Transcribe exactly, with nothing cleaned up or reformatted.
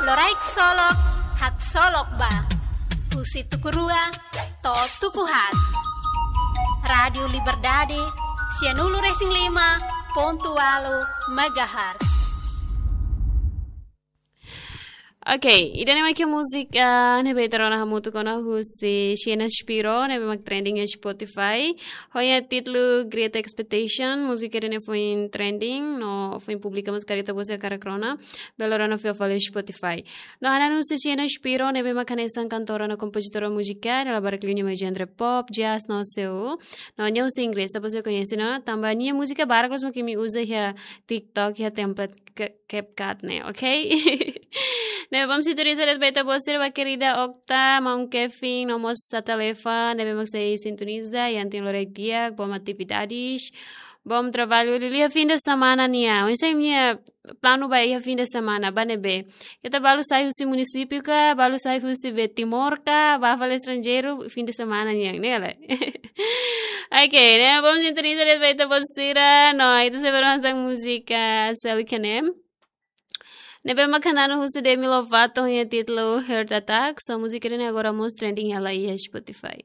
Loraik solok, haksolok ba. Husi tuku rua to'o tuku haat. Rádiu Liberdade, sianulu-resin-lima pontu ualu megahertz. Ok, ida-ne'e mak múzika ne'ebé ita rona hamutuk ona husi Xena Shapiro, ne'ebé mak trending iha Spotify. Ho nia títulu Great Expectation, múzika ida-ne'e foin trending, no foin publika mós karik ita-boot sira hakarak rona, bele rona fila fali iha Spotify. No hanesan husi Xena Shapiro, ne'ebé mak hanesan kantora no kompozitora múzika, nia la barak liu nia mai genre pop, jazz, no soul. No nia husi Inglés, ita-boot sira koñese ona, tanba nia múzika barak loos mak imi uza iha TikTok, iha template ke-, CapCut ne'e, ok? Ne'ebé mak sintoniza de'it ba ita-boot sira ba kerida Okta, maun Kevin, no mós Satalefa, ne'ebé mak sei sintoniza, iha ita-nia loraik di'ak, bom atividades, bom trabalho, liuliu iha fim de semana nian. Oinsá imi-nia planu ba iha fim de semana, ba ne'ebé? Ita balu sai husi munisípiu ka, balu sai husi be Timor ka, bá fali estranjeiru, fim de semana nian, ne'e lae? Ok, ne'e bom sintoniza de'it ba ita-boot sira, no ita sei bá rona tan múzika Selly Kenem. Ne'ebé mak hanesan husi Demi Lovato, nia títulu Heart Attack, so múzika ida-ne'e agora mós trending hela iha Spotify.